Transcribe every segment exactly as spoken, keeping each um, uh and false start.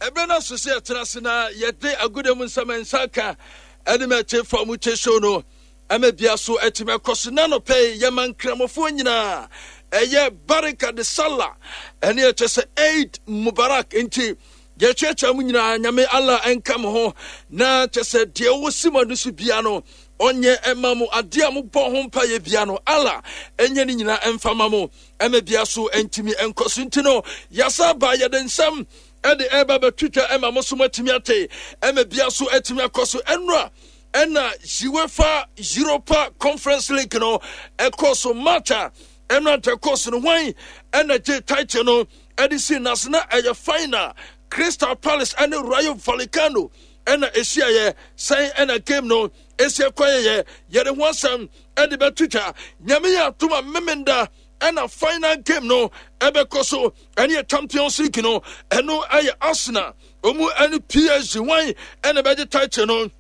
Ɛberɛ no aso sɛ yɛtena ase na yɛde agoda mu nsɛm nsa ka ɛne mɛte fa mu kye show no ɛma bia so atumi akɔ so. Na nɔpɛ yi yɛma nkramofoɔ nyinaa ɛyɛ Barika de Sallah, ɛne ɛkyɛ sɛ Eid Mubarak. Nti yɛkyerɛkyerɛ mu nyinaa, Nyame Allah ɛnka mo ho, na kyɛ sɛ deɛ wɔsi mu ano so bia no ɔnyɛ ɛma mo, adeɛ a mobɔ ho mpa yɛ bia no Allah ɛnyɛ ne nyinaa ɛmfa ma mo, ɛma bia so ɛntumi ɛnkɔ so. Nti no yɛasa ba, yɛde nsɛm ɛde ɛba bɛtwitwa ɛma mo so moatumi ate, ɛma bia so atumi akɔ so. Ɛnora ɛna UEFA Europa Conference League no ɛkɔ so. Match a ɛno anta kɔ so no, hwan ɛna gye title no ɛde si nase? Na ɛyɛ final, Crystal Palace ɛne Rayo Vallecano ɛna ɛhyiaeɛ. Sɛn ɛna game no ɛsi ɛkɔ yɛyɛ, yɛde ho asɛm ɛde bɛtwitwa. Nyame yɛ atom a, Memenda ɛna final game no ɛbɛkɔ so, ɛne yɛ Champions League no. Ɛno ɛyɛ Arsenal ɔmu ɛne P S G. Hwan ɛna bɛgye title no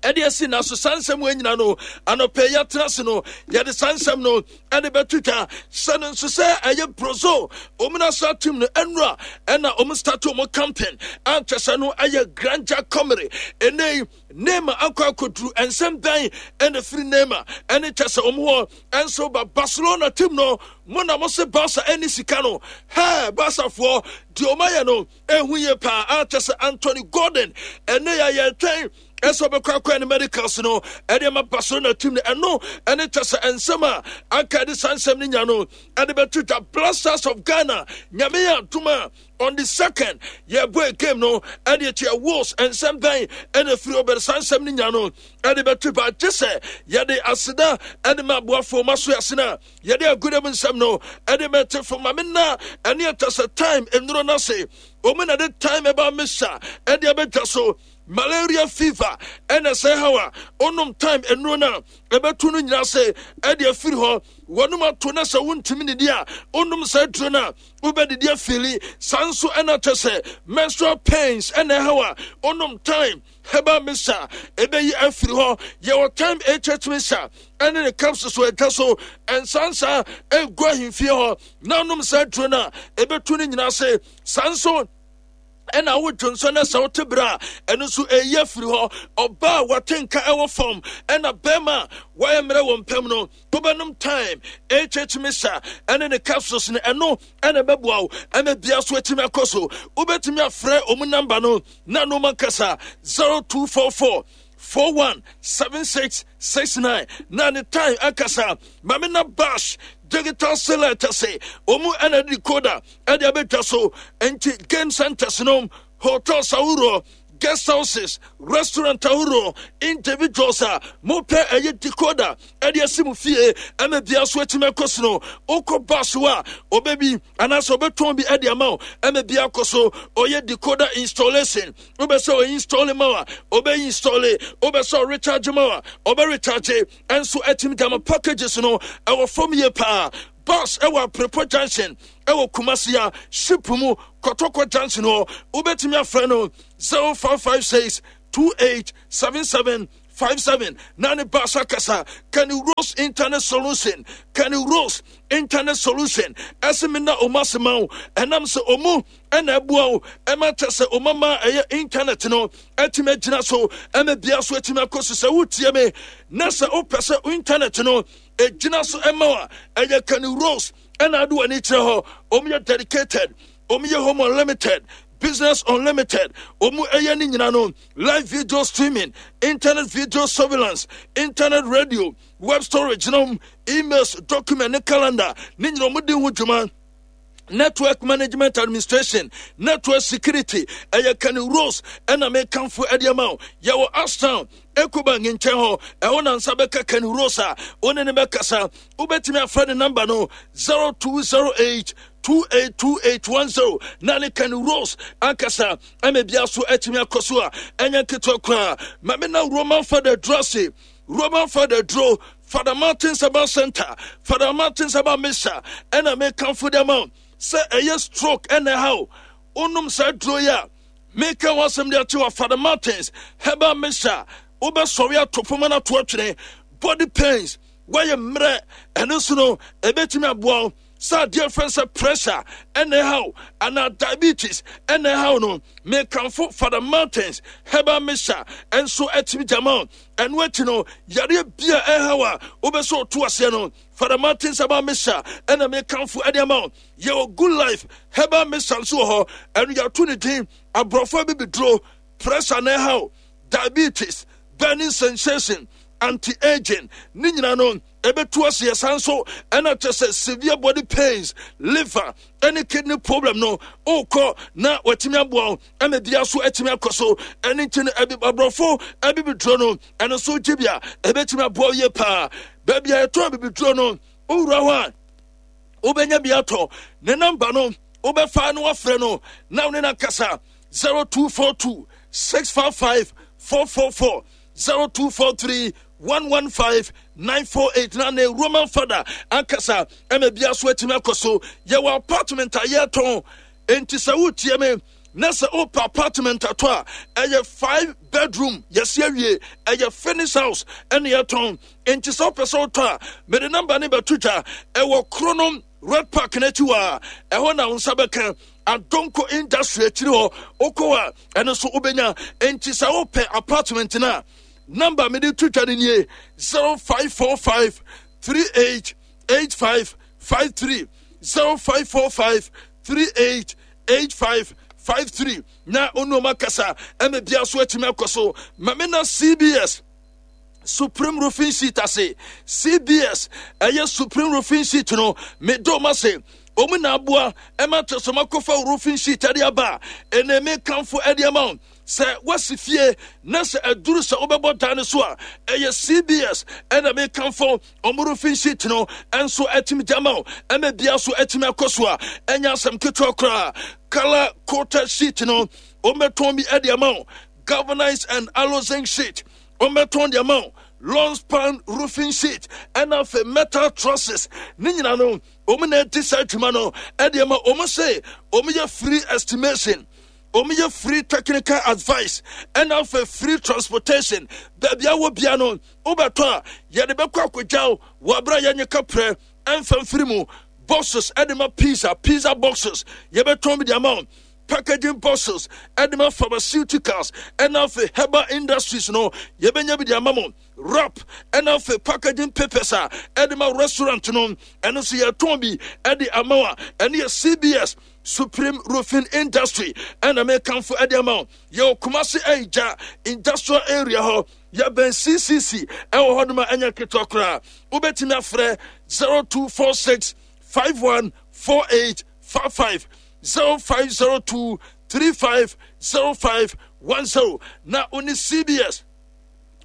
ɛde asi na so? Saa nsɛm wɔ nyina no, anɔpɛ yɛatena ase no, yɛde saa nsɛm no ɛde bɛtwitwa. Sɛ no nso sɛ ɛyɛ Brazil ɔmu national team no, ɛnura ɛna ɔmu start ɔmu campaign ankyɛ sɛ no ɛyɛ Granja Comary. Ɛnɛ Neymar akɔ akɔduru, nsɛm bɛn ɛna firi Neymar ɛne kyɛ sɛ ɔmu hɔ ɛnso ba Barcelona team no mo na mo se Barca ɛne sika no hɛɛ? Barcafoɔ deɛ ɔmo ayɛ no ɛhu yie paa, akyɛ sɛ Anthony Gordon ɛne yɛ yɛtwɛn ɛsɛ ɔbɛkɔ akɔ ne medicals no ɛde ama Barcelona team no. Ɛno ɛne kyɛ sɛ nsɛm a anka ɛde saa nsɛm no nya no ɛde bɛto dwa. Black Stars of Ghana, Nyame yɛ adom a, on the second yɛbɔ game no ɛde akyi Wolves. Nsɛm bɛn ɛna firi ɔbɛrɛ saa nsɛm no nya no ɛde bɛto ba? Gye sɛ yɛde aseda ɛde ma aboafoɔ ma so yɛasena yɛde agodam nsɛm no ɛde mɛte fo ma me na ɛne ɛtɛ sɛ time nnuro no ase ɔmu na de time ɛba mesa ɛde abɛtwa so. Malaria, fever ɛna sɛ haw a, onom time nnuro no a, ɛbɛto no nyinaa sɛ ɛde afiri hɔ. Wɔnom ato na sɛ wontumi didi a, onom saa duro no a, wobɛdidi afili. Saa nso ɛna kyɛ sɛ menstrual pains ɛna ɛhaw a, onom time herbal mixture, ɛbɛyi afiri hɔ. Yɛwɔ time H H mixture ɛne ne capsules wɔ ɛtwa so nsansa ɛgu ahemfie hɔ na onom saa duro no a, ɛbɛtu no nyinaa se. Saa nso ɛna wodwo nso no sɛ wote berɛ a, ɛno nso ɛyi afiri hɔ. Ɔbaa a wɔte nka ɛwɔ fam ɛna bɛrima a wɔayɛ mmerɛ wɔ mpam no, wobɛnom time H H mixture ɛne ne capsules no, ɛno ɛna ɛbɛboa wo ɛma bia so atumi akɔ so. Wobɛtumi afrɛ ɔmu number no na noma kasa zero two four four four one seven six six nine na ne time akasa. Mame na Bash Digital Select sɛ ɔmu ɛna decoder ɛde abɛtwa so. Nti game centers no, hotels ahoroɔ, guest houses, restaurant ahoroɔ, individuals a mopɛ ɛyɛ decoder ɛde asi mu fie ɛma bia so atumi akɔ so no, wokɔ bus hɔ a, ɔbɛbi anaasɛ ɔbɛtɔn bi ɛde ama wo ɛma bia akɔ so. Ɔyɛ decoder installation, wobɛ sɛ ɔinstall ma wo a, ɔbɛ install. Wobɛ sɛ ɔrecharge ma wo a, ɔbɛ recharge. Ɛnso atumi de ama. Packages no ɛwɔ fam yie paa. Bus ɛwɔ Aprepo Junction ɛwɔ Kumasi a ship mu Kɔtɔkɔ Junction hɔ. Wobɛtumi afrɛ no zero five five six two eight seven seven five seven na ne baasa kasa. Kenny Rose Internet Solution, Kenny Rose Internet Solution ɛsɛ me na ɔmo ase ma wo, ɛnam sɛ ɔmo ɛna ɛboa wo ɛma kyɛ sɛ ɔmo ama ɛyɛ internet no ɛtumi agyina so ɛma bia so ɛtumi akɔ so. Sɛ wotie me na sɛ wopɛ sɛ internet no ɛgyina so ɛma wo a, ɛyɛ Kenny Rose ɛna ade w'ani kyerɛ hɔ. Ɔmo yɛ dedicated, ɔmo yɛ home unlimited, business unlimited, ɔmo ɛyɛ ne nyina no, live video streaming, internet video surveillance, internet radio, web storage nom, emails, document ne calendar ne nyina ɔmo di ho dwuma, network management administration, network security. Ɛyɛ Kenny Rose ɛna mekamfo ɛde ama wo. Yɛwɔ Ashtown, Ecobank nkyɛn hɔ. Ɛhɔ na nsa bɛka Kenny Rose a wo ne ne bɛkasa. Wobɛtumi afrɛ ne number no zero two zero eight two eight two eight one zero na ne Kenny Rose ankasa ɛma bia so atumi akɔ so a ɛnyɛ nketewa koraa. Ma me na Roman Father Drase, Roman Father Dro, Father Martin Saba Center, Father Martin Saba Misa ɛna mekamfo de ama wo sɛ ɛyɛ stroke ɛna ɛha wo, wonom saa duro yi a meka ho asɛm de akye wɔ Father Martins Herbal Mixture, wobɛsɔre ato poma no ato atwene. Body pains, woayɛ mmerɛ, ɛno nso no ɛbɛtumi aboa wo. Sɛ adeɛ fɛn sɛ pressure ɛna ɛhaw anaa diabetes ɛna ɛhaw no, mekamfo Father Martins Herbal Mixture ɛnso atumi gyama. Ɛno akyi no, yareɛ bi a ɛhaw a wobɛsɛ ɔto aseɛ no, Father Martins Herbal Mixture ɛna mekamfo ɛde ama wo. Yɛwɔ Good Life Herbal Mixture nso wɔ hɔ. Ɛno yɛato ne din aborɔfo abibiduro. Pressure na ɛhaw, diabetes, burning sensation, anti-aging, ne nyinaa no ɛbɛtu aseɛ. San so ɛna kyɛ sɛ severe body pains, liver ɛne kidney problem no, wokɔ na watumi aboa wo ɛma bia so atumi akɔ so. Ɛne nti no, aborɔfo abibiduro no, ɛno nso gye bi a ɛbɛtumi aboa wo yie paa. Baabi a yɛtɔn abibiduro no, wowura hɔ a wobɛnya bi atɔ. Ne namba no, wobɛfa no wafrɛ no na wo ne no akasa: zero two four two six five five four four four, zero two four three one one five nine four eight. Na ne Roman Father ankasa ɛma bia so atumi akɔ so. Yɛwɔ apartment a yɛtɔn, enti sɛ wotie me na sɛ wopɛ apartment atɔ a, ɛyɛ five bedroom, yɛsi awie, ɛyɛ finish house ɛne yɛtɔn. Enti sɛ wopɛ sɛ wotɔ a, mede number ne bɛto dwa. Ɛwɔ Kronom Red Park n'akyi hɔ a, ɛhɔ na wo nsa bɛka. Adonko Industry akyiri hɔ, wokɔ a ɛno nso wobɛnya. Enti sɛ wopɛ apartment no a, number mede to dwa no nie: zero five four five three eight eight five five three, zero five four five three eight eight five five three, na onuoma kasa ɛma bia so atumi akɔ so. Ma me na C B S Supreme Roofing Sheet ase. C B S ɛyɛ Supreme Roofing Sheet no, medɔ ma se ɔmu na aboa ɛma kyɛ sɛ makɔfa roofing sheet ɛde aba a ɛnɛ mekamfo ɛde ama wo. Sɛ woasi fie na sɛ aduru sɛ wobɛbɔ dan no so a, ɛyɛ C B S ɛna mekamfo ɔmo roofing sheet no ɛnso atumi gya ma wo ɛma bia so atumi akɔ so a ɛnyɛ asɛm ketewa koraa. Color coated sheet no, ɔmbɛtɔn bi ɛde ama wo. Galvanized and aloe zinc sheet, ɔmbɛtɔn de ama wo. Long span roofing sheet ɛna afei metal trusses ne nyina no, ɔmo na ɛdi saa adwuma no ɛde ama ɔmo. Se ɔmo yɛ free estimation, ɔmo yɛ free technical advice, ɛna afei free transportation. Baabi a wɔ bia no, wobɛtɔ a, yɛde bɛkɔ akɔgyaw wɔ abere a yɛnyɛ kaprɛ ɛmfa mfiri mu. Boxes ɛde ma pizza, pizza boxes, yɛbɛtɔn bi de ama wo. Packaging boxes ɛde ma pharmaceuticals ɛna afei herbal industries no, yɛbɛnya bi de ama mo. Wrap ɛna afei packaging papers a ɛde ma restaurant no, ɛno nso yɛtɔn bi ɛde ama wo a ɛno yɛ C B S Supreme Roofing Industry ɛna mekamfo ɛde ama wo. Yɛwɔ Kumase Ɛgya Industrial Area hɔ, yɛbɛn C C C ɛwɔ hɔ nom a ɛnyɛ ketewa koraa. Wobɛtumi afrɛ zero two four six five one four eight five five, zero five zero two three five zero five one zero, na wo ne C B S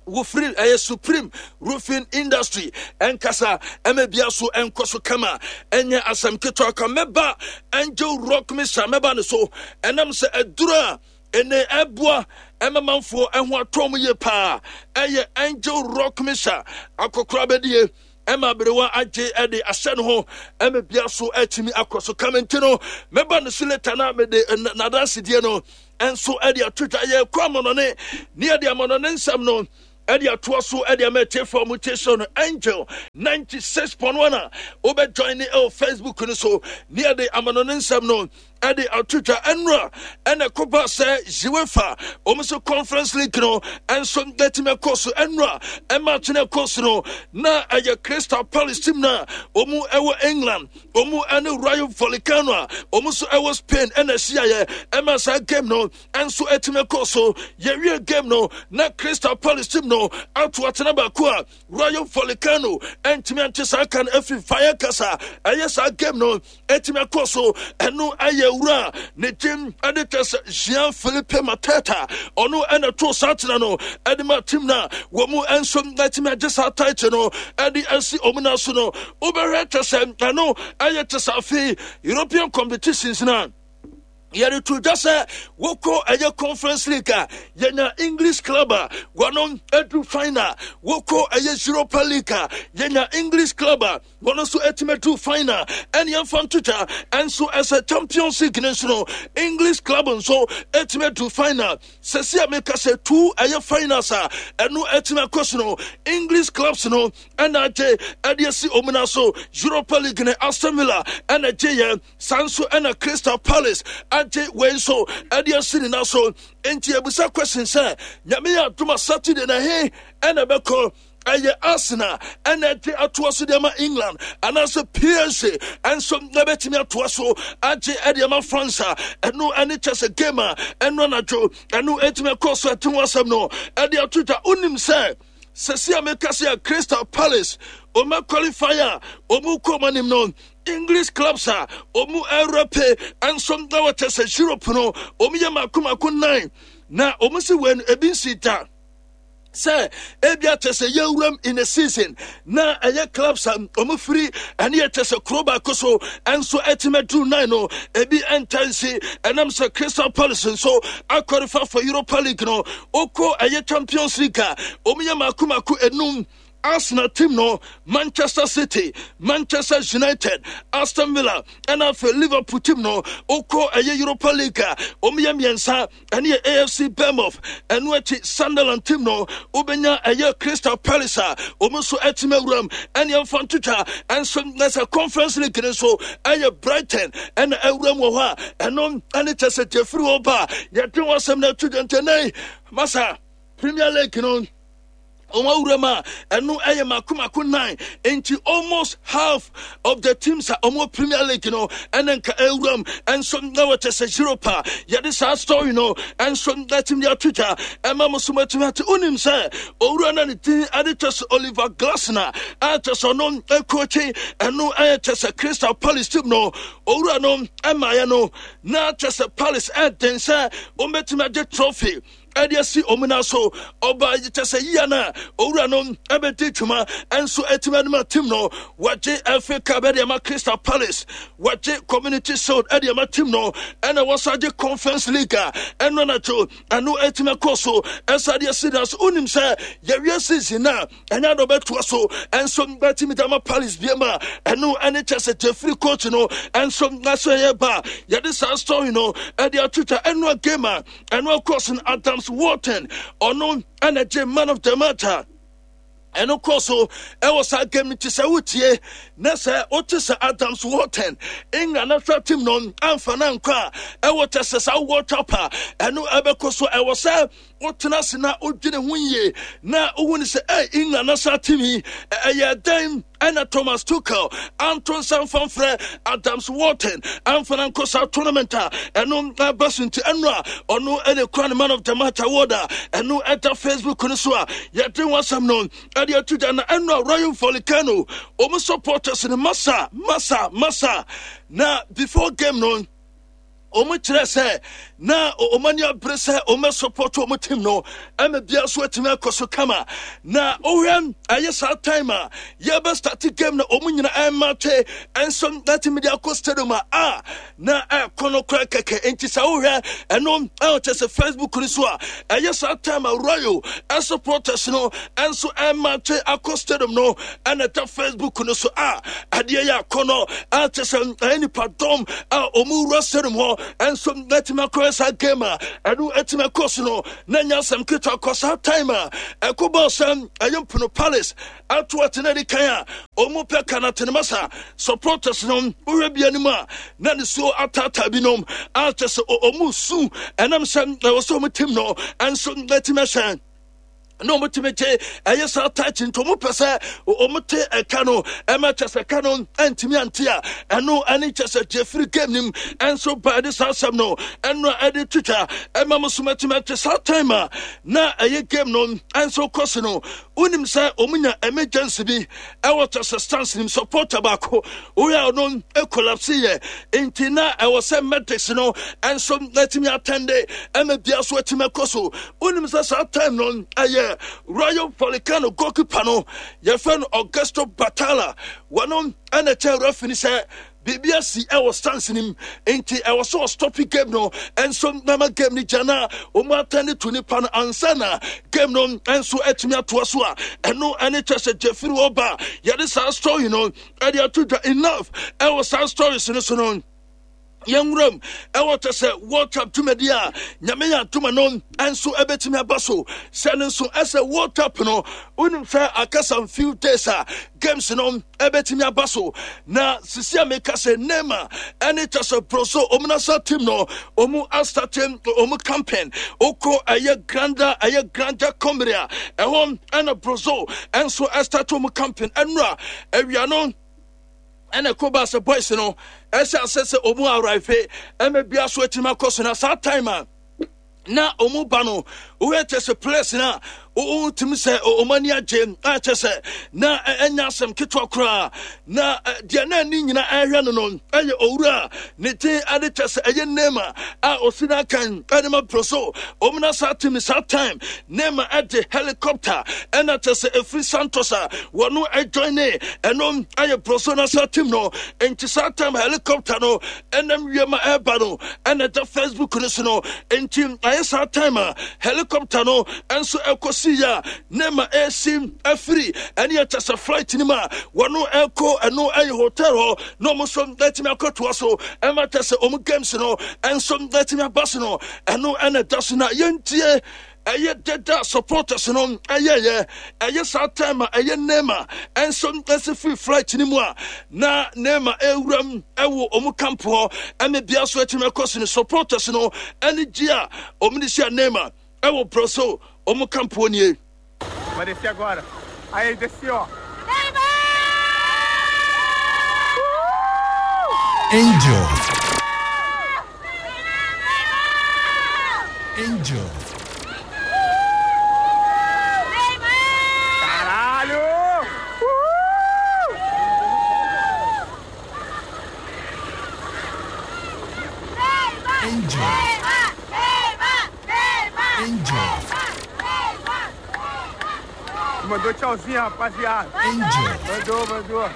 wofiri ɛyɛ Supreme Roofing Industry ɛnkasa ɛma bia so ɛnkɔ so kama. Ɛnyɛ asɛm ketewa ka. Mɛba Angel Rock Mixture, mɛba ne so ɛnam sɛ aduro a ɛnɛ ɛboa ɛma manfoɔ ɛho atɔ mu yie paa. Ɛyɛ Angel Rock Mixture, akɔkora bɛdie ɛma aberewa agye ɛde ahyɛ ne ho ɛma bia so ɛtumi akɔ so kama. Nti no, mɛba ne so later na mede n'adansedie no ɛnso ɛde ato dwa. Yɛkɔ amanɔne ne yɛde amanɔne nsɛm no ɛde atoa so ɛde ama atiefoɔ mu tie so no. Angel ninety-six point one a wobɛjoin ne ɛwɔ Facebook no so ne yɛde amanɔne nsɛm no ɛde ato dwa. Ɛnora ɛna ɛkɔba sɛ UEFA wɔn nso Conference League no ɛnso ɛtumi ɛkɔ so. Ɛnora ɛma atwene ɛkɔ so no, na ɛyɛ Crystal Palace team na wɔn ɛwɔ England, wɔn ɛne Rayo Vallecano a wɔn nso ɛwɔ Spain ɛna ɛhyiaeɛ. Ɛma saa game no ɛnso ɛtumi ɛkɔ so. Yɛwie game no na Crystal Palace team no ato atena baako a Rayo Vallecano ɛntumi ante saa ka no afiri Vallecas. Ɛyɛ saa game no ɛtumi akɔ so. Ɛno ɛyɛ wura ne gyem ɛde kyɛ sɛ Jean Philippe Mateta, ɔno ɛna to saa tena no ɛde ma team no a wɔn mu nso ɛtumi agye saa title no ɛde asi wɔn nan so no. Wobɛhwɛ kyɛ sɛ ɛno ɛyɛ kyɛ sɛ afei European competitions na Yɛde to dwa sɛ wokɔ ɛyɛ Conference League a, yɛnya English club a wɔno adu final. Wokɔ ɛyɛ Europa League a, yɛnya English club a wɔno nso atumi adu final. Ɛne yɛmfa nto dwa ɛnso ɛsɛ Champions League no nso no, English club nso atumi adu final. Sɛsi a meka sɛ two ɛyɛ finals a ɛno atumi akɔ so no, English clubs no ɛna agye ɛde asi omuna so. Europa League ne Aston Villa ɛna gye yɛ saa nso, ɛna Crystal Palace agye wei nso ɛde asi ne nan so. Nti ebusa question sɛ, Nyame yɛ adom a, Saturday na he ɛna ɛbɛkɔ? Ɛyɛ Arsenal ɛna ɛgye atoa so de ama England, anaasɛ P S G ɛnso ɛbɛtumi atoa so agye ɛde ama France a ɛno ɛne kyɛ sɛ game a ɛno anadwo ɛno ɛtumi ɛkɔ so ɛte ho asɛm no ɛde ato dwa. Wonim sɛ sɛsi a meka sɛ Crystal Palace ɔma qualify a ɔmu kɔ ɔmo anim no, English clubs a ɔmu ɛrɛpe ɛnso na wɔkyɛ sɛ Europe no ɔmu yɛ mako mako nine, na ɔmu si wei no ebi nsi da sɛ ebi akyɛ sɛ yɛwuram in a season na ɛyɛ clubs a ɔmo firi ɛne yɛ kyɛ sɛ kuro baako so ɛnso ɛtumi aduru nine no, ebi ɛnta nsi. Ɛnam sɛ Crystal Palace nso akɔrefa for Europa League no, okɔ ɛyɛ Champions League a, ɔmo yɛ mako mako enum: Arsenal team no, Manchester City, Manchester United, Aston Villa, ɛna afei Liverpool team no. Wokɔ ɛyɛ Europa League a, wɔn yɛ mmiɛnsa, ɛne yɛ A F C Bournemouth, ɛno akyi Sunderland team no, wobɛnya ɛyɛ Crystal Palace a wɔn nso atumi awuram. Ɛne ɛmfa ntotwa ɛnso na sɛ Conference League no nso ɛyɛ Brighton ɛna awuram wɔ hɔ a ɛno ɛne kyɛ sɛ gyefiri hɔ ba a yɛde wɔn asɛm no ato dwa. Ntɛnɛn masa Premier League no, wɔn awura mu a ɛno ɛyɛ mako mako nine, nti almost half of the teams a wɔn Premier League no ɛna nka awura mu. Ɛnso na wɔkyɛ sɛ Europa yɛde saa story no ɛnso na team de ato dwa ɛma mo so mo atumi ate. Wonim sɛ owura na ne din ɛde kyɛ sɛ Oliver Glasner a kyɛ sɛ ɔno ɛkɔɔkye ɛno ɛyɛ kyɛ sɛ Crystal Palace team no, owura no ɛmaayɛ no na kyɛ sɛ Palace ɛden sɛ wɔn bɛtumi agye trophy ɛde asi ɔmo nan so. Ɔba kyɛ sɛ yia no a owura no ɛbɛdi dwuma ɛnso ɛtumi anim a team no wɔgye F A Cup ɛde ama Crystal Palace, wɔgye Community Shield ɛde ama team no, ɛna wɔsa gye Conference League a ɛno anadwo ɛno ɛtumi akɔ so ɛsa de asi na so. Wonim sɛ yɛwie season na ɛnyɛ adɔ bɛtoa so ɛnso bɛtumi de ama Palace biem a ɛno ɛne kyɛ sɛ jeffrey coach no ɛnso na so ɛyɛ ba yɛde saa story no ɛde atwitwa. Ɛno a game a ɛno akɔ so no, Adams Wharton ɔno ɛna gye man of the match a ɛno kɔ so ɛwɔ saa game no. Ti sɛ wotie na sɛ wote sɛ Adams Wharton, England national team no amfa no ankɔ a ɛwɔ kyɛ sɛ saa World Cup a ɛno ɛbɛkɔ so, ɛwɔ sɛ wotena ase na wodwene ho yie na wohu ne sɛ ɛ England national team yi ɛyɛ dɛn ɛna Thomas Tuchel anto nsa mfamfrɛ Adams Wharton amfa no ankɔ saa tournament a ɛno ɛba so. Nti ɛno a ɔno ɛne kura ne man of the match award a ɛno ɛda Facebook no so a yɛde ho asɛm no ɛde ato gya. Na ɛno a Rayo Vallecano ɔmo supporters no, masa masa masa, na before game no wɔn kyerɛ sɛ na wɔn ani abere sɛ wɔn bɛ support wɔn team no ɛma bia so atumi akɔ so kama. Na wohwɛ ɛyɛ saa time a yɛbɛ start game na wɔn nyinaa ɛma twe ɛnso ɛtumi de akɔ stadium a a na ɛkɔ no kora kɛkɛ. Nti sɛ wohwɛ ɛno ɛwɔ kyɛ sɛ Facebook no so a, ɛyɛ saa time a Royal supporters no ɛnso ɛma twe akɔ stadium no ɛna ɛda Facebook no so a adeɛ yɛ akɔ no a kyɛ sɛ ɛyɛ nipa dɔm a wɔn wura stadium hɔ ɛnso ɛtumi akɔyɛ saa game a ɛno ɛtumi akɔ so no na nya asɛm ketewa kɔ. Saa time a ɛkɔ bɔɔl sɛ ɛyɛ Mpono Palace ato atena di kan a wɔn pɛ ka na tenema supporters no, wohwɛ bi anim a na ne so ataataa binom a kyɛ sɛ wɔn su ɛnam sɛ ɛwɔ sɛ wɔn team no ɛnso ɛtumi ahyɛn na wɔn tumi gye ɛyɛ saa title, nti wɔn pɛ sɛ wɔn te ɛka no ɛma kyɛ sɛ ɛka no ɛntumi ante a ɛno ɛne kyɛ sɛ jeffrey game nim ɛnso ba ɛde saa asɛm no ɛno a ɛde twitwa ɛma mo so mɛtumi ate. Saa time a na ɛyɛ game no ɛnso kɔ so no, wonim sɛ wɔn nya emergency bi ɛwɔ kyɛ sɛ stands nim supporter baako woyɛ ɔno collapse yɛ, nti na ɛwɔ sɛ medics no ɛnso ɛtumi attend ɛma bia so ɛtumi ɛkɔ so. Wonim sɛ saa time no ɛyɛ Rayo Vallecano goalkeeper no, yɛfrɛ no Augusto Batalla, wɔno ɛna kyɛ referee sɛ Biribi asi ɛwɔ stands no mu, nti ɛwɔ sɛ ɔstɔpe game no nso nama game no gya na wɔn atɛn to nipa no ansa na game no nso atumi atoa so a ɛno ɛne kyɛ sɛ gyefiri wɔ ba yɛde saa story no ɛde ato dwa. Enough ɛwɔ saa stories no so no, yɛnwuram ɛwɔ kyɛ sɛ World Cup dwumadi a Nyame yɛ adoma no nso ɛbɛtumi aba so sɛ no nso ɛsɛ World Cup no, wonim sɛ aka some few days a games no ɛbɛtumi aba so. Na sisi a meka sɛ Neymar ɛne kyɛ sɛ Brazil ɔmu national team no ɔmu astart ɔmu campaign. Wokɔ ɛyɛ granda ɛyɛ Granja Comary a ɛhɔ ɛna Brazil ɛnso ɛstart ɔmu campaign ɛnura awia no, ɛna ɛkɔ ba sɛ boys no ɛhyɛ asɛ sɛ ɔmu arrive ɛmɛ bia so atumi akɔ so. Na saa time a na ɔmu ba no, wohɛ kyɛ sɛ players no a wotumi sɛ ɔmo ani agye a kyɛ sɛ na ɛnya asɛm ketewa koraa. Na deɛ na ani nyina ɛhwɛ no no ɛyɛ owura ne din ade kyɛ sɛ ɛyɛ Neymar a ɔsi no akan ɛde ma Brazil ɔmo na saa team. Saa time Neymar ɛde helicopter ɛna kyɛ sɛ ɛfiri Santos a wɔno ɛjoin ne ɛno ɛyɛ Brazil na saa team no. Nti saa time helicopter no ɛnam wiem a ɛreba no ɛna ɛda Facebook no so no. Nti ayɛ saa time a helicopter no nso ɛkɔsi yɛ a Neymar ɛsi afiri ɛne ɛkyɛ sɛ flight no mu a wɔno ɛkɔ ɛno ɛyɛ hotel hɔ na ɔmo nso ɛtumi akɔtoa so ɛma kyɛ sɛ ɔmo games no ɛnso ɛtumi aba so no, ɛno ɛna ɛda so. Na yɛntie ɛyɛ deda supporters no ɛyɛyɛ ɛyɛ saa time a ɛyɛ Neymar ɛnso ɛsi firi flight no mu a na Neymar ɛwuram ɛwɔ ɔmo camp hɔ ɛne bia so ɛtumi ɛkɔ so no, supporters no ɛne gye a ɔmo de hyia Neymar ɛwɔ Brazil ɔmo camp hɔ nie. Vai descer agora. Aí, desceu, ó. Angel. Angel. Caralho! Uhul! Angel. Angel. Mandou tchauzinho, rapaziada. Angel. Mandou, mandou.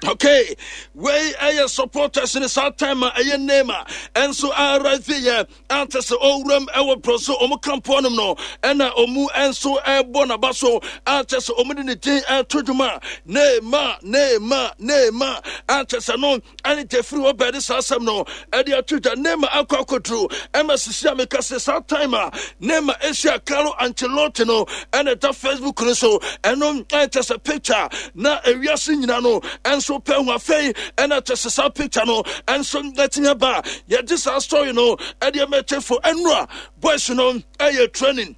Okay, wei ɛyɛ supporters ne saa time a ɛyɛ Neymar ɛnso arrive yɛ ante sɛ ɔwuram ɛwɔ Brazil ɔmo camp nom no, ɛna ɔmu ɛnso ɛbɔ n'aba so ante sɛ ɔmo de ne din ɛto dwuma, Neymar, Neymar, Neymar, ante sɛ no ɛne gyefiri hɔ bɛɛde saa asɛm no ɛde ato dwa. Neymar akɔ akɔduru ɛma sisi a meka sɛ saa time a Neymar ahyia Carlo Ancelotti no ɛna ɛda Facebook no so. Ɛno ɛnkyɛ sɛ picture na ewiase nyina no ɛnso pɛ ho. Afei ɛna kyɛ sɛ saa picture no ɛnso ɛtumi aba a yɛgye saa story no ɛde ɛmɛkyɛ fo. Ɛnura boys no ɛyɛ training,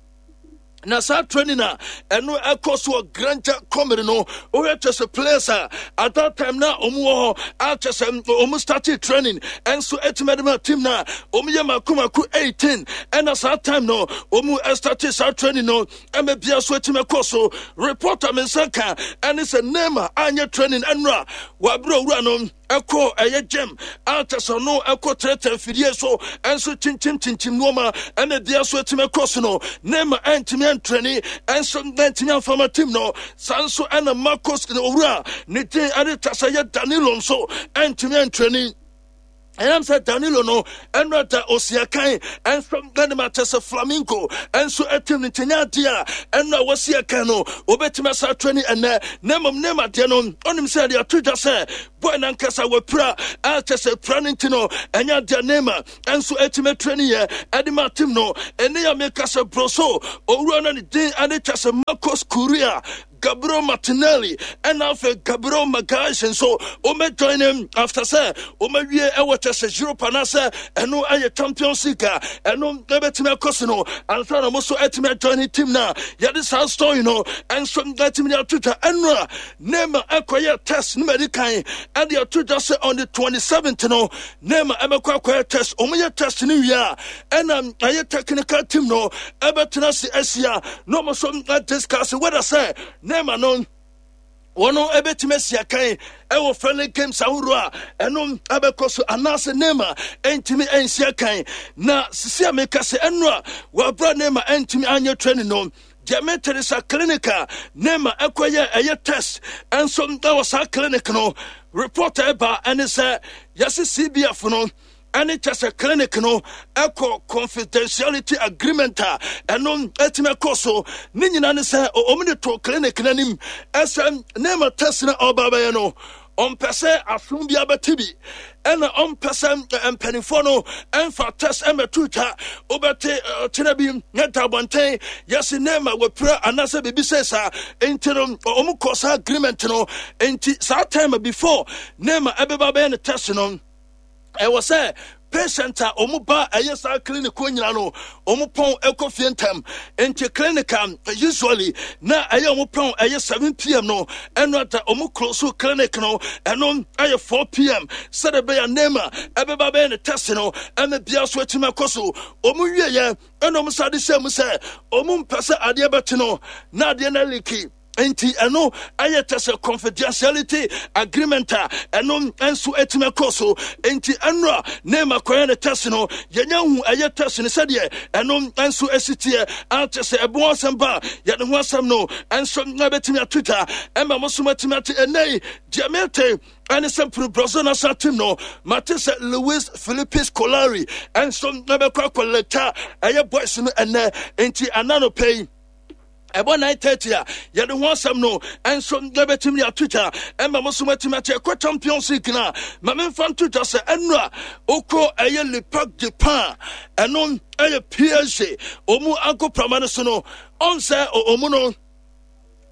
na saa training a ɛno ɛkɔ so wɔ Granja Comary no, wohwɛ kyɛ sɛ players a at that time na ɔmu wɔ hɔ a kyɛ sɛ ɔmu started training ɛnso ɛtumi ɛde ma team na ɔmu yɛ mako mako eighteen. Ɛna saa time no ɔmu ɛstarted saa training no ɛmɛ bia so ɛtumi ɛkɔ so. Reporter me nsa ka ɛne sɛ Neymar anyɛ training ɛnura wabere owura no ɛkɔ ɛyɛ gym a kyɛ sɛ no ɛkɔ trɛtrɛ mfidie so ɛnso kyinkyim kyinkyim nneɛma ɛna bia so ɛtumi ɛkɔ so no. Neymar ɛntumi ɛntraining ɛnso ɛntumi amfama team no. Saa nso ɛna Marcos ne owura ne din ɛde kyɛ sɛ yɛ Danilo nso ɛntumi ɛntraining. Ɛnam sɛ Danilo no ɛno da osia kan ɛnso ɛne ma kyɛ sɛ Flamengo ɛnso ɛtim no nkyɛnya adeɛ a ɛno a wɔsi ɛkan no wɔbɛtumi asa training ɛnɛ. Na mmom Neymar deɛ no, ɔnim sɛ ɛde ato dwa sɛ boy nankasa wɔpira a kyɛ sɛ pira no nti no ɛnyɛ adeɛ Neymar ɛnso ɛtumi training yɛ ɛde ma team no. Ɛne yɛ meka sɛ Brazil owura no ne din ɛde kyɛ sɛ Marcos Correa, Gabriel Martinelli ɛna afei Gabriel Magalhaes nso wɔmɛ join him after sɛ wɔmawie ɛwɔ kyɛ sɛ Europe anaasɛ ɛno ɛyɛ Champions League a ɛno ɛbɛtumi akɔ so no ansa na mo nso ɛtumi ajoin team no a yɛde saa story no ɛnso ɛtumi de ato dwa. Ɛno a Neymar ɛkɔyɛ test no madi kan ɛde ato dwa sɛ on the twenty-seventh no Neymar ɛbɛkɔ akɔyɛ test. Wɔn yɛ test no wie a, ɛna ɛyɛ technical team no ɛbɛtena ase ahyia na wɔn nso discuss whether sɛ Neymar no wɔn ɛbɛtumi asi akan ɛwɔ friendly games ahodoɔ a ɛno ɛbɛkɔ so anaasɛ Neymar ɛntumi ɛnsi akan. Na sisi a meka sɛ ɛno a wɔabra Neymar ɛntumi anyɛ training no, Deɛ mete ne sa clinic a Neymar ɛkɔyɛ ɛyɛ test ɛnso ɛwɔ saa clinic no, report ɛba ɛne sɛ yɛse C B F no ɛne kyɛ sɛ clinic no ɛkɔ confidentiality agreement a ɛno ɛtumi ɛkɔ so. Ne nyinaa ne sɛ ɔmo de to clinic no anim ɛsɛ Neymar test no ɔba bɛyɛ no, ɔmpɛ sɛ asom bi abɛte bi, ɛna ɔmpɛ sɛ mpanimfoɔ no ɛmfa test ɛmɛto twa. Wobɛte ɔkyena bi ne da abɔnten yɛse Neymar wɔpira anaasɛ biribi sɛ saa. Nti no ɔmo kɔ saa agreement no. Nti saa time before Neymar ɛbɛba bɛyɛ ne test no, ɛwɔ sɛ patient a wɔn ba ɛyɛ saa clinic hɔ nyina no, wɔn pɔn ɛkɔ fie ntɛm. Nti clinic a usually na ɛyɛ wɔn pɔn ɛyɛ seven P M no, ɛno ata wɔn close clinic no, ɛno ɛyɛ four P M sɛdeɛ ɛbɛyɛ Neymar ɛbɛba bɛyɛ ne test no, ɛna bia so akyi ɛkɔ so. Wɔn wie yɛ, ɛna wɔn sa de hyɛ mu sɛ wɔn mpɛ sɛ adeɛ bɛte no na adeɛ no aleak. Nti ɛno ɛyɛ kyɛ sɛ confidentiality agreement a ɛno nso atumi akɔ so. Nti ɛno a Neymar kɔyɛ ne test no, yɛnya hu ɛyɛ test no sɛdeɛ ɛno nso asi teɛ akyɛ sɛ ɛbo asɛm ba a, yɛde ho asɛm no nso ɛbɛtumi ato dwa ɛma mo so matumi ate. Ɛnɛ yi deɛ mete ɛne sɛ mpuru Brazil national team no, mate sɛ Luis Felipe Scolari ɛnso ɛbɛkɔ akɔlɛta ɛyɛ boys no ɛnɛ. Nti ananopɛ yi ɛbɔ nine thirty a, yɛde ho asɛm no ɛnso yɛbɛtumi de ato dwa ɛma mo so matumi ate. Ɛkɔ Champions League no a, ma memfa nto dwa sɛ ɛno a wokɔ ɛyɛ Le Parc de Pan, ɛno ɛyɛ P S G ɔmu agoprama no so no, ɔn sɛ ɔmu no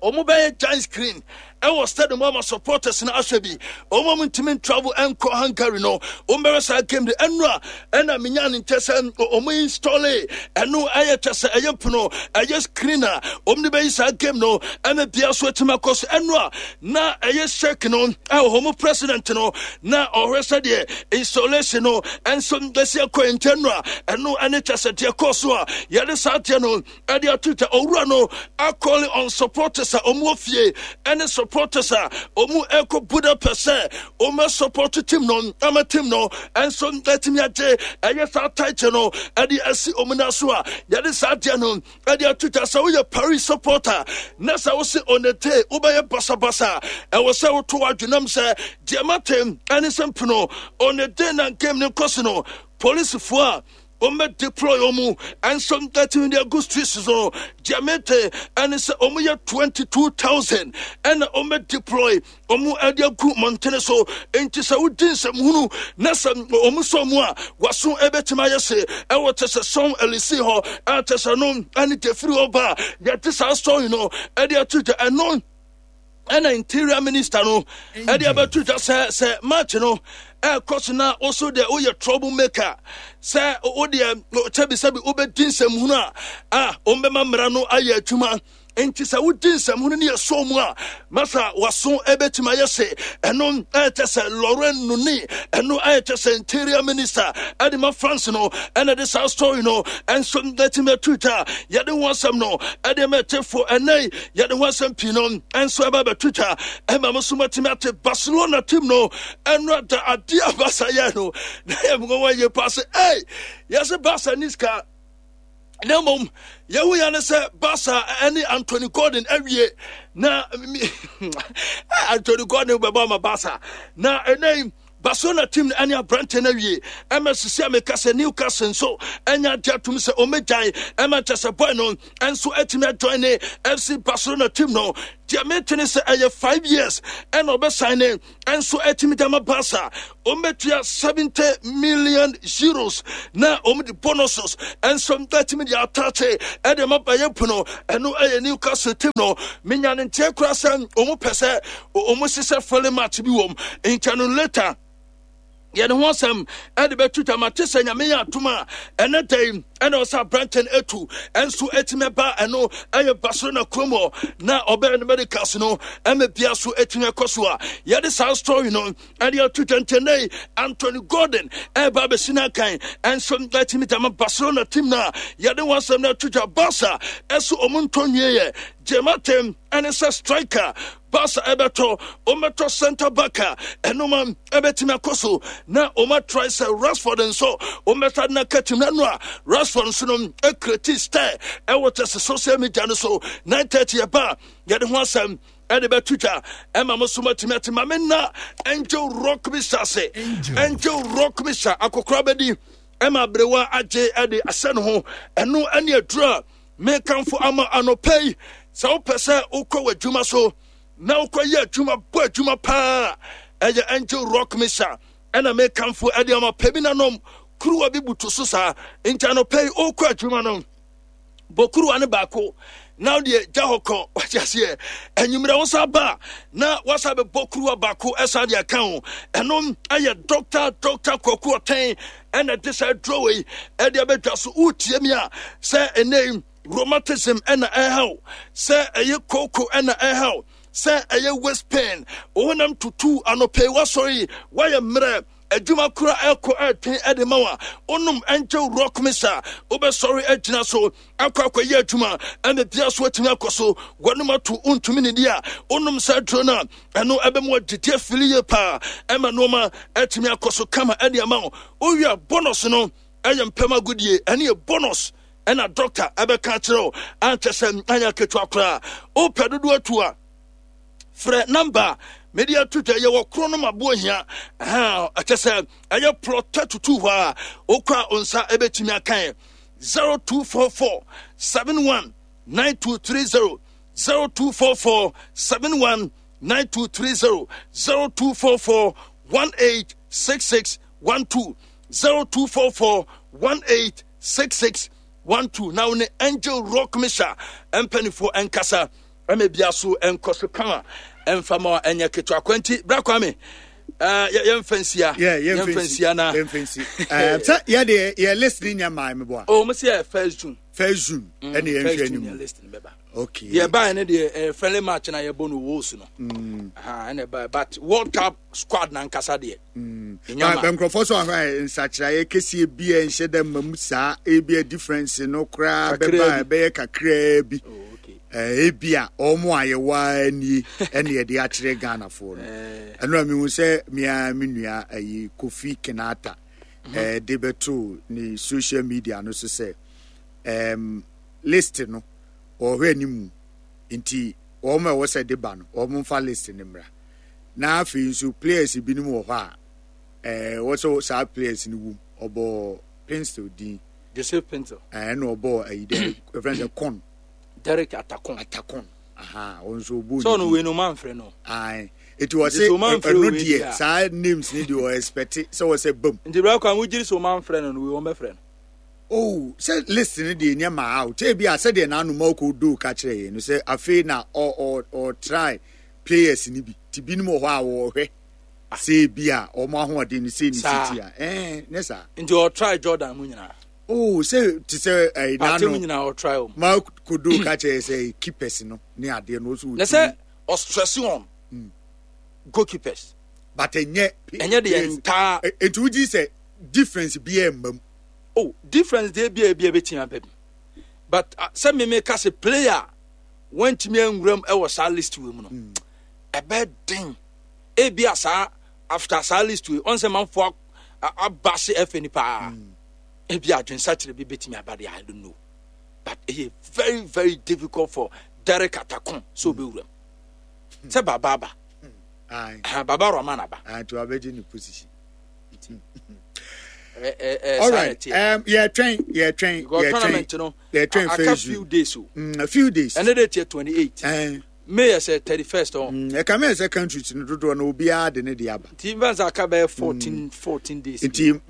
ɔmo bɛyɛ giant screen ɛwɔ stadium ama supporters no ahwɛ bi. Ɔmo a ntumi travel ɛnkɔ Hungary no, ɔmo bɛhwɛ saa game de. Ɛno a ɛna menya ne nkyɛ sɛ ɔmo install ɛno ɛyɛ kyɛ sɛ ɛyɛ mpono ɛyɛ screen a ɔmo de bɛyi saa game no ɛna bia so atumi akɔ so. Ɛno a na ɛyɛ sheik no ɛwɔ ɔmo president no na ɔhwɛ sɛdeɛ installation no ɛnso ɛsi akɔ nkyɛn no a, ɛno ɛne kyɛ sɛ deɛ kɔɔ so a yɛde saa deɛ no ɛde ato twa. Owura no acalling on supporters a ɔmo wɔ fie ɛne supporters a ɔmo ɛkɔ Budapest sɛ ɔmo support team no ama team no ɛnso ɛtumi agye ɛyɛ saa title no ɛde asi ɔmo nan so a yɛde saa deɛ no ɛde ato twa. Sɛ woyɛ Paris supporter na sɛ wose on the day wobɛyɛ basabasa, ɛwɔ sɛ woto adwenam sɛ deɛ mate ɛne sɛ mpono on the day na game no nkɔ so no, polisifoɔ a wɔn deploy wɔn ɛnso ɛtumi de agu streets so, deɛ mete ɛne sɛ wɔn yɛ twenty two thousand ɛna wɔn deploy wɔn ɛde agu mmɔntene so. Nti sɛ wodi nsɛmhunu na sɛ wɔn sɔ mu a, waso ɛbɛtumi ayɛ se ɛwɔ kyɛ sɛ sɔn ɛlisi hɔ ɛkyɛ sɛ no ɛne defiri hɔ ba a yɛte saa sɔn no ɛde ato dwa. Ɛno ɛna Interior Minister no ɛde abɛto dwa sɛ sɛ match no ɛkɔ so na woso deɛ woyɛ trouble maker, sɛ wodeɛ kyɛbisɛbi wobɛdi nsɛmhunu a a wɔmbɛma mmara no ayɛ adwuma. Nti sɛ wodi nsɛmhunu no yɛ so mu a, masa waso ɛbɛtumi ayɛ se. Ɛno ɛkyɛ sɛ Laurent Nuni, ɛno ɛkyɛ sɛ Interior Minister ɛde ma France no, ɛna de saa story no ɛnso ɛtumi atu dwa. Yɛde ho asɛm no ɛde ma ɛtefo. Ɛnɛ yɛde ho asɛm pii no ɛnso ɛba bɛto dwa ɛma mo so matumi ate. Barcelona team no, ɛno ada adeɛ a Barca yɛ no na yɛ mmoa yie paa sɛ ɛy yɛsɛ Barca ni sika, na mmom yɛhu ya ne sɛ Barca ne Anthony Gordon awie na Anthony Gordon bɛbɔ ama Barca. Na ɛnɛ Barcelona team no ɛne aberante no awie ɛma sisi a meka sɛ Newcastle nso ɛnya agye atom sɛ ɔmɛgyae ɛma kyɛ sɛ boy no ɛnso atumi ajoin ne F C Barcelona team no. Deɛ mete ne sɛ ɛyɛ five years ɛna ɔbɛsan ne ɛnso atumi de ama Barca. Ɔmbɛtua seventy million euros na ɔm de bonuses ɛnso atumi de atate ɛde ma bɛyɛ pono. Ɛno ɛyɛ Newcastle team no. Menya ne nteɛ koraa sɛ ɔmo pɛ sɛ ɔmo hyehyɛ friendly match bi wɔm nkyɛn no later, yɛde ho asɛm ɛde bɛtu tama te sɛ Nyame yɛ atom a, ɛnɛ da yi ɛna ɔsɛ aberante no atu ɛnso ɛtumi ɛba. Ɛno ɛyɛ Barcelona kurom hɔ na ɔbɛyɛ no medicals no ɛma bia so ɛtumi ɛkɔ so a yɛde saa story no ɛde ato twɛntɛnɛ. Anthony Gordon ɛba abɛsi no akan ɛnso ɛtumi dama Barcelona team no a yɛde ho asɛm no ato dwa. Barca ɛso ɔmo ntɔ nwie yɛ gyematem ɛne sɛ striker Barca ɛbɛtɔ ɔmɛtɔ center back a ɛnoma ɛbɛtumi akɔ so na ɔma try sɛ Rashford nso ɔmɛsa na katim na no a Rashford nso no ɛkreti style ɛwɔ kyɛ sɛ social media no so nine thirty ɛba yɛde ho asɛm ɛde bɛto dwa ɛma mo so matumi ate ma me na Angel Rock Misa se Angel Rock Misa akokora bɛdi ɛma aberewa agye ɛde asɛ no ho ɛno ɛne aduru a mekamfo ama anɔpɛ yi sɛ wopɛ sɛ wokɔ w'adwuma so na wokɔyɛ adwuma bɔ adwuma paa ɛyɛ Angel Rock Misa ɛna mekamfo ɛde ama pɛ bi nanom kuruwa bi butu so saa nti anɔpɛ yi wokɔ adwuma no bɔ kuruwa ne baako na deɛ gya hɔ kɔ wate aseɛ anwummerɛ wo sa ba na wasa bɛbɔ kuruwa baako ɛsa de aka ho ɛno ɛyɛ Doctor Doctor Kwaku Ɔtɛn ɛna de saa duro wei ɛde abɛdwa so. Wotie mi a sɛ ɛnɛ rheumatism ɛna ɛhaw, sɛ ɛyɛ koko ɛna ɛhaw, sɛ ɛyɛ waist pain, wo honam tutu anɔpɛ wasɔre wayɛ mmerɛ adwuma kora ɛkɔ ɛten ɛde ma wa wonom Angel Rock Misa wobɛsɔre agyina so akɔ akɔyɛ adwuma ɛna bia so atumi akɔ so wɔnom ato wontumi ne di a wonom saa duro no a ɛno ɛbɛmu agyegye afili yie paa ɛma nneɛma atumi akɔ so kama ɛde ama wo. Wowie a bonus no ɛyɛ mpɛm agodie ɛne yɛ bonus ɛna doctor ɛbɛka akyerɛ wo ankyɛ sɛ anyɛ ketewa koraa. Wopɛ dodoɔ atu a frɛ number mede ato dwa. Yɛwɔ koro no maboɔ hia ɛkyɛ sɛ ɛyɛ plot thirty-two hɔ a wokɔ a wo nsa ɛbɛtumi akae zero two four four seven one nine two three zero, zero two four four seven one nine two three zero, zero two four four one eight six six one two, zero two four four one eight six six one two. Na wo ne Angel Rock Misa mpanimfoɔ ɛnkasa ɛma bia so ɛnkɔ so kama ɛmfa ma ɛnyɛ ketewa kwanti bra Kwame yɛmfa nsia. Yɛmfa nsia na sɛ yɛde yɛ list ni nyɛ maa mi bɔ a. O mo sɛ yɛ first June. First June ɛna yɛn hwɛ anim. List ni bɛba. Okay. Yɛ baa ne deɛ ɛyɛ friendly match na yɛbɔ no Wales no ɛna ɛbaa, but World Cup squad na nkasa deɛ. Ba nkurɔfoɔ so ahwɛ nsakyerɛeɛ kɛseɛ bi a nhyɛ dɛ mma mu saa, ebi a difference no koraa bɛba ɛbɛyɛ kakraa bi, ebi a wɔn a yɛwɔ nie ɛna yɛde akyerɛ Ghanafoɔ no. Ɛno a mehu sɛ mea me nua ayi Kofi Kenata ɛɛ de bɛto ne social media no so sɛ ɛɛm list no wɔhwɛ anim nti wɔn a ɛwɔ sɛ de ba no wɔn mfa list no mmra, na afei nso players binom wɔ hɔ a ɛɛ wɔsɛ saa players no wum. Ɔbɔ Pencil din. Joseph Pencil. Ɛɛ ɛna ɔbɔ ayi dɛ ɛfɛn sɛ Kɔn. Derek Atakon. Atakon, aha, ɔno nso ɔbɔ. Sɛ ɔno wei no ɔma nfrɛ no. Ayi eti wɔsi ɛno deɛ saa names ni deɛ ɔ expect sɛ wɔsɛ bam. Nti bɛrɛ kwan wogye sɛ ɔma nfrɛ no no wei wɔn bɛfrɛ no. Oh, sɛ list no deɛ nyɛ maa o kyɛ bi a sɛdeɛ n'ano ma ɔkɔ do ka kyerɛ yɛn no sɛ afei na ɔ ɔ ɔ try players ni bi ti binom wɔ hɔ a wɔrehwɛ sɛ bi a wɔn ahoɔden no sɛ ne si ti a ɛɛ ne saa. Nti ɔtry Jordan mu nyinaa. Oh, sɛ te sɛ ɛyi n'ano mu nyinaa ɔtry wɔn. Ma kodo ka kyerɛ sɛ keepers no ne adeɛ no ɔso. Na sɛ ɔstress on mm. goalkeepers. But ɛnyɛ. Ɛnyɛ deɛ ntaa. Etu wogyi sɛ difference bi ɛ mma mu. Oh, difference deɛ bi a ebi a ebɛtumi aba bi, but uh, sɛ mímí ka sɛ player wɔntumi anwuram ɛwɔ saa list wei mu no, ɛbɛ den ebi a saa after saa list wei ɔn sɛ manfo aba se ɛfɛ nipa ebi adwensakyerɛ bi bɛtumi aba deɛ, I don't know, but ɛyɛ very very difficult for Derek Atakon sɛ ɔbɛwuram sɛ baba aba, Baba Rahman aba. Nti wabɛgye ne position. Alright, um, yɛtwɛn yɛtwɛn yɛtwɛn yɛtwɛn. Aka few days o. Mm, a few days. Ɛne de tiɛ twenty eight. May yɛ sɛ thirty first ɔ. Ɛka mi yɛ sɛ countries no dodoɔ no obiara de ne de aba. Nti nfa nsa aka bɛyɛ fourteen fourteen days. Nti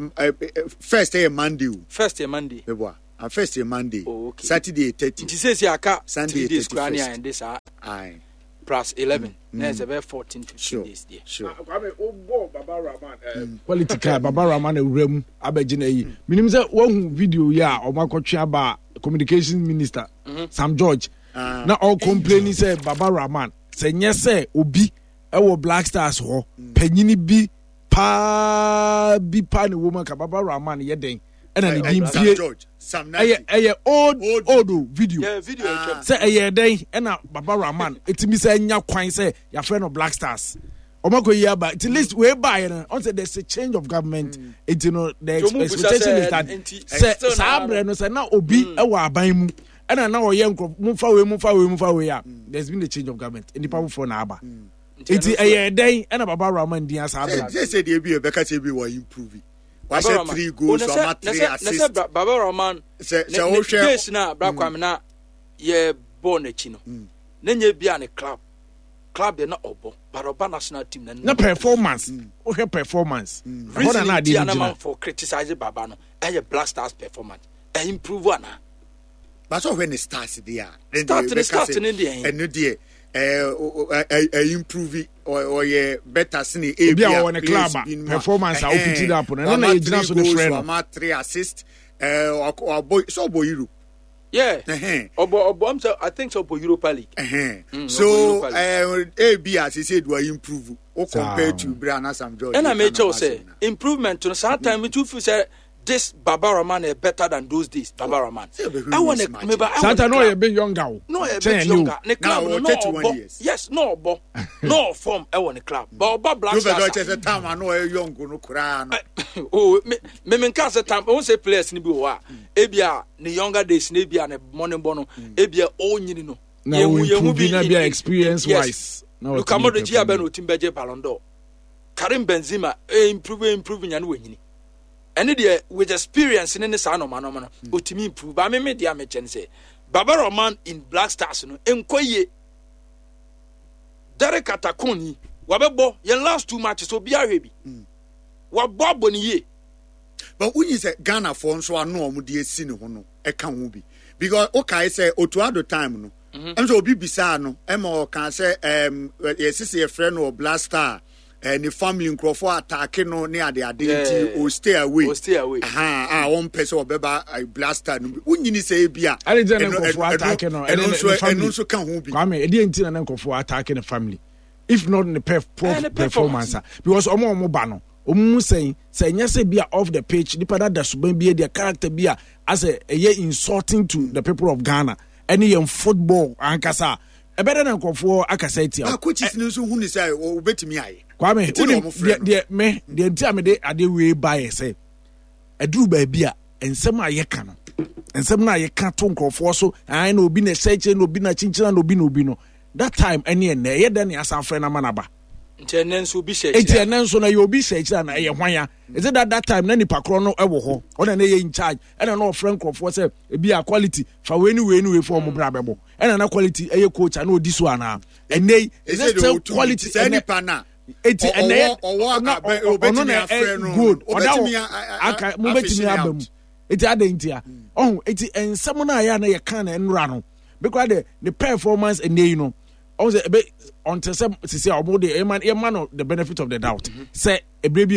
first yɛ Monday o. First yɛ Monday. Meboa and first yɛ Monday. Oh, okay. Saturday thirty. Nti sɛsi aka three days kura ne ayɛ de saa. Aye. Plus eleven. Na ɛsɛ bɛyɛ fourteen fifteen sure, days deɛ. Sure. Kwame, o bɔ Baba Rahman. Quality car Baba Rahman awura mu abɛgye na yi minim sɛ wahu video yi a ɔmo akɔtwe aba communication minister mm -hmm. Sam George uh, na ɔcomplaini sɛ Baba Rahman sɛ nyɛ sɛ obi ɛwɔ Black Stars hɔ mm. panyini bi paa bi paa na ɛwɔ mu aka Baba Rahman yɛ den Ɛna ne din Sam pie. George, Sam Nartey. Ɛyɛ ɛyɛ old Old old o video. Yeah, video Ah. atwam. Sɛ ɛyɛ dɛn ɛna Baba Rahman ɛtumi sɛ nya kwan sɛ yɛafrɛ no Black Stars, ɔmo akɔ yi aba nti list wei baayɛ no, ɔn sɛ there's a change of government, nti no the Nti ɔmo bisa expectation sɛ, is that nti, sɛ still saa na- berɛ no sɛ na obi ɛwɔ aban mu ɛna na ɔyɛ nkurɔfo momfa wei, momfa wei, momfa wei a, there's been a change of government, nnipa foforɔ na aba, nti ɛyɛ dɛn ɛna Baba Rahman din asa Sɛ abɛ? sɛ sɛ deɛ bi yɛbɛka sɛ bi wɔ improve, Baba wahyɛ Rahman. three Oh, goals, na sɛ- wama na three sɛ- na sɛ assists. Bra- Baba Rahman Sɛ ne- sɛ ne wohwɛ days na Bra Kwame na yɛ bɔɔl n'akyi no, na nyɛ bi a ne club club deɛ na ɔbɔ, but ɔba national team na Na performance, wohwɛ performance ɛhɔ na reason na nti adeɛ a no na gyina. manfo criticize Baba no, ɛyɛ Black Stars performance ɛ improve ana? But sɛ ɔhwɛ ne stars deɛ a, then Start deɛ ne yɛbɛka start sɛ ne deɛ. Ɛno deɛ ɛɛ, o- o- ɛ ɛ improve, ɔ- ɔyɛ better sene Ebi a ɔwɔ ne club a, performance a ɔpiti up no, ɛno na yɛgyina so de frɛ no. Wama three assist, ɛɛ, ɔkɔ- ɔbɔ sɛ ɔbɔ Europe. Yeah. Ɛhɛn. ɔbɔ ɔbɔ am sɛ I think sɛ ɔbɔ Europa League. Ɛhɛn. Mm, So ɔbɔ Europa League. ɛɛ, ebi a sese do improve o Saa. compare to bere a na Sam George Ɛna ka mekyɛw na sɛ asɛm na. improvement no saa time tu feel sɛ this Baba Rahman is better than those days Baba Rahman. Sɛ ɔbɛhwɛ Ɛwɔ ne mismatch. meba ɛwɔ Saa ta ne na ɔyɛ club. bit younger o. No, ɔyɛ Kyɛn bit ɛne o. younger ne club Now, no na thirty-one ɔbɔ years. Yes, na ɔbɔ na ɔform ɛwɔ ne club, but ɔba Black Yóò fẹ́ Stars sọ kyerɛ sɛ time a na ɔyɛ young no koraa no. Oh, me me me nka sɛ time ohun sɛ players ni bi wɔ hɔ a, ebi a ne younger days na ebi a ne mmɔne bɔ no, ebi a ɔnyini no Na yɛhu- o yɛhu improve bi na in- bi a in- experience yes. wise na Luka ɔtumi Modric yɛ abɛ perform. na otim bɛgye Ballon d'Or. Karim Benzema e improve, improve nya no wanyini, ɛne deɛ with experience ne ne saa nɔɔma nɔɔma no otimi improve ba. Me me deɛ a mekyɛ ne sɛ Baba Rahman in Black Stars no nkɔ yie. Derek Atakon yi wabɛbɔ yɛn last two matches, obi ahwɛ bi wabɔ abɔ ne yie. But wonyi sɛ Ghanafoɔ nso ano a wɔde esi ne ho no ɛka ho bi, because wokae sɛ Otto Addo time no, ɛm sɛ obi bisaa no ɛma ɔka sɛ ɛm yɛsisi yɛfrɛ no wɔ Black Star, ɛɛ ne family nkurɔfoɔ attack no ne ade ade, nti Yeah. o stay away. O stay away. Aha, a wɔmpɛ sɛ ɔbɛba eh, Black Star no bi. Wonyini sɛ ebi a Ade gyina ne ɛno- nkurɔfoɔ ɛno- attack no, ɛno ɛne ne- nso ne family. ɛno nso ka ho bi. Kwame, ɛdeɛ nti na ne nkurɔfoɔ attack ne family if not ne perf poor Eh, ne performance a? Because ɔmo a ɔmo ba no, ɔmo mu sɛn sɛ ɛnyɛ sɛ bi a off the pitch nipa da da suban bi adi a, character bi a asɛ ɛyɛ insulting to the people of Ghana ɛne yɛn football ankasa a, ɛbɛdɛ na nkurɔfoɔ akasa atia Ah, wo. coaches no nso hu ne sɛ obetumi ayɛ. Kwame, Nti na wonim ɔmo frɛ deɛ no. deɛ me deɛ nti a mede adeɛ wei ba yɛ sɛ ɛduru baabi a nsɛm a yɛka no, nsɛm no a yɛka to nkurɔfoɔ so ae na obi na ɛhyɛ kyerɛ na obi na kyinkyina na obi na obi no, that time ɛne ɛnɛ ɛyɛ dɛ ne asan frɛ no ama naba. Nti ɛnɛ nso obi hyɛ Eti akyire. ɛnɛ nso na ɛyɛ obi hyɛ akyire na ɛyɛ hwan ya? Is it that that time na nipa korɔ no ɛwɔ hɔ, ɔna na ɛyɛ in charge, ɛna na ɔfrɛ nkurɔfoɔ sɛ ebi a quality fa wei ni wei ni wei fɔ ɔmo bra bɛbɔ, ɛna na quality ɛyɛ coach a na odi so anaa? Ɛnɛ yi is it still quality sɛ ɛnɛ nipa na eti ɛnɛ yɛ ɔwɔ na abɛ- ɔ- ɔ- ɔno obetumi na afrɛ ɛ no. good ɔda Obetumi hɔ a- a- a- aka mo a- bɛtumi afishing aba out. mu. Eti adan nti a ɔho eti nsɛm no a yɛ a na yɛka na nnura no because de ne performance ɛnɛ yi no, ɔho sɛ ebe ɔnte sɛ sisi a ɔmo de yɛma yɛma no the benefit of the doubt sɛ ebire bi.